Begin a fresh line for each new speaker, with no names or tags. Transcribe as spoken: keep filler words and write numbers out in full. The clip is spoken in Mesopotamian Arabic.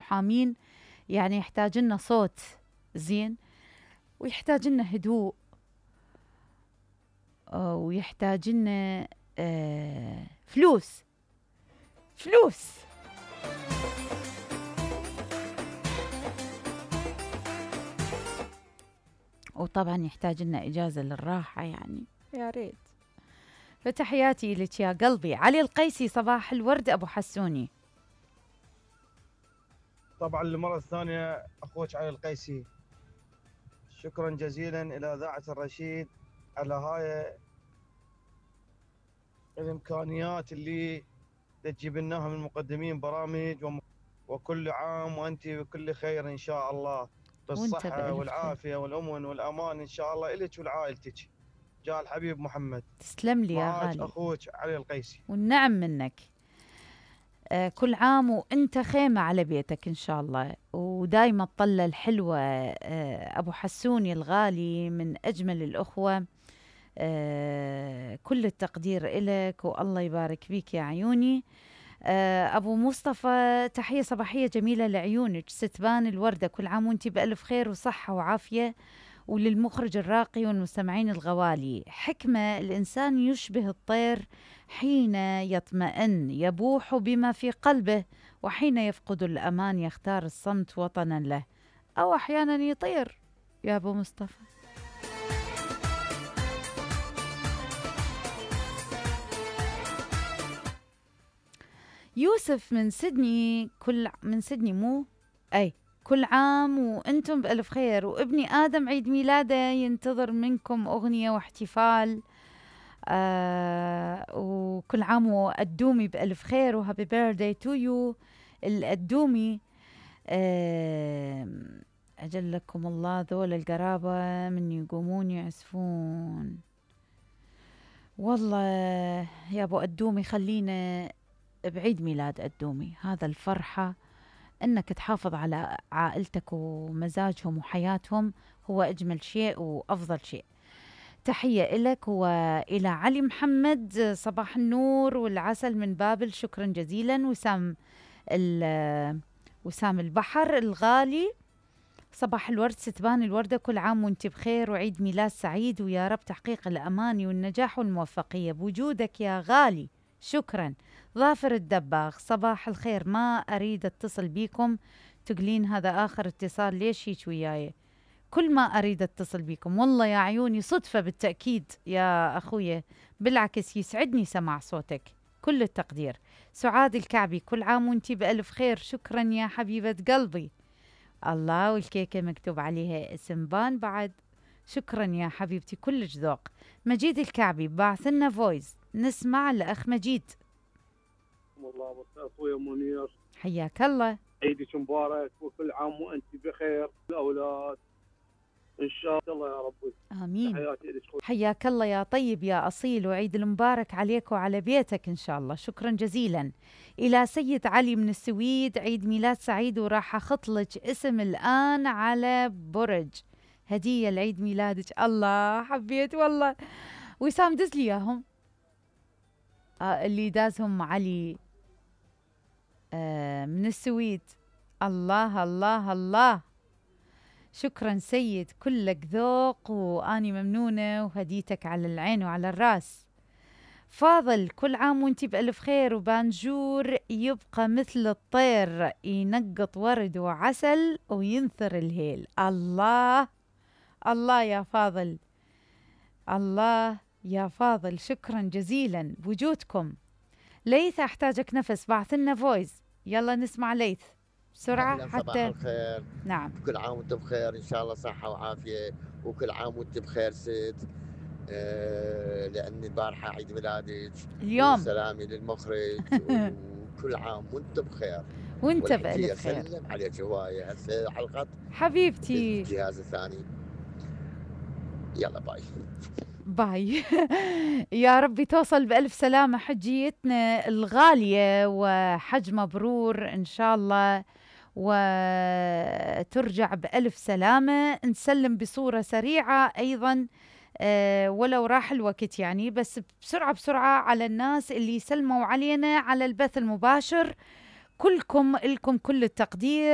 محامين يعني يحتاج لنا صوت زين، ويحتاج لنا هدوء، ويحتاج لنا آه فلوس فلوس. وطبعا يحتاج لنا إجازة للراحة يعني، يا ريت. فتحياتي لك يا قلبي. علي القيسي، صباح الورد أبو حسوني.
طبعا للمرة الثانية أخوك علي القيسي، شكرا جزيلا إلى إذاعة الرشيد على هاي الإمكانيات اللي تجيب لناها من مقدمين برامج، وكل عام وأنت بكل خير إن شاء الله، بالصحة والعافية والأمن والأمان إن شاء الله إلك ولعائلتك. جاء الحبيب محمد.
تسلم لي يا غالي.
أخوك علي القيسي.
والنعم منك. آه كل عام وانت خيمة على بيتك إن شاء الله، ودايما الطلة الحلوة. آه أبو حسوني الغالي، من أجمل الأخوة. آه كل التقدير إلك، والله يبارك فيك يا عيوني. آه أبو مصطفى، تحية صباحية جميلة لعيونك، ستبان الوردة، كل عام وانت بألف خير وصحة وعافية. وللمخرج الراقي والمستمعين الغوالي، حكمة الإنسان يشبه الطير، حين يطمئن يبوح بما في قلبه، وحين يفقد الأمان يختار الصمت وطنا له، أو أحيانا يطير. يا أبو مصطفى، يوسف من سيدني، كل من سيدني مو أي كل عام وأنتم بألف خير، وابني آدم عيد ميلاده ينتظر منكم أغنية واحتفال. آه وكل عام والدومي بألف خير، وهابي بيرثداي تو يو الأدومي. آه أجلكم الله ذول القرابة من يقومون يعزفون. والله يا أبو أدومي خلينا بعيد ميلاد أدومي، هذا الفرحة أنك تحافظ على عائلتك ومزاجهم وحياتهم هو أجمل شيء وأفضل شيء. تحية إلك وإلى علي محمد، صباح النور والعسل من بابل، شكرا جزيلا. وسام وسام البحر الغالي، صباح الورد ستبان الوردة، كل عام وانت بخير وعيد ميلاد سعيد، ويا رب تحقيق الأمان والنجاح والموفقية بوجودك يا غالي، شكرا. ظافر الدباغ، صباح الخير، ما أريد اتصل بيكم تقولين هذا آخر اتصال، ليش هيك وياي؟ كل ما أريد اتصل بيكم والله يا عيوني صدفة بالتأكيد يا أخويا، بالعكس يسعدني سماع صوتك، كل التقدير. سعاد الكعبي، كل عام وانتي بألف خير، شكرا يا حبيبة قلبي. الله، والكيكة مكتوب عليها اسم بان بعد، شكرا يا حبيبتي، كلش ذوق. مجيد الكعبي باعث لنا فويس، نسمع الأخ مجيد.
الله اخويا منير،
حياك الله،
عيدك مبارك وكل عام وانت بخير، الاولاد ان شاء الله يا رب.
امين. حياك الله يا طيب يا اصيل، وعيد المبارك عليك وعلى بيتك ان شاء الله، شكرا جزيلا. الى سيد علي من السويد، عيد ميلاد سعيد، وراح اخط لك اسم الان على برج هديه لعيد ميلادك. الله حبيت والله. وسام دز لي اياهم، آه اللي دازهم علي آه من السويد. الله الله الله، شكرا سيد، كلك ذوق واني ممنونه، وهديتك على العين وعلى الراس. فاضل، كل عام وانتي بألف خير، وبانجور يبقى مثل الطير ينقط ورد وعسل وينثر الهيل. الله الله يا فاضل، الله يا فاضل، شكرا جزيلا بوجودكم. ليث احتاجك نفس، بعث لنا فويس، يلا نسمع ليث بسرعة حتى.
صباح الخير.
نعم،
كل عام وانت بخير ان شاء الله، صحة وعافية، وكل عام وانت بخير ست. آه لأن البارحة عيد ميلادك
اليوم،
سلامي للمخرج وكل عام وانت بخير
وانت بألف خير.
سلم عليك هواية هسه حلقة
حبيبتي،
الجهاز الثاني. يلا باي
باي. يا ربي توصل بألف سلامة حجيتنا الغالية، وحج مبرور إن شاء الله، وترجع بألف سلامة. نسلم بصورة سريعة أيضا، أه ولو راح الوقت يعني، بس بسرعة بسرعة على الناس اللي سلموا علينا على البث المباشر، كلكم لكم كل التقدير.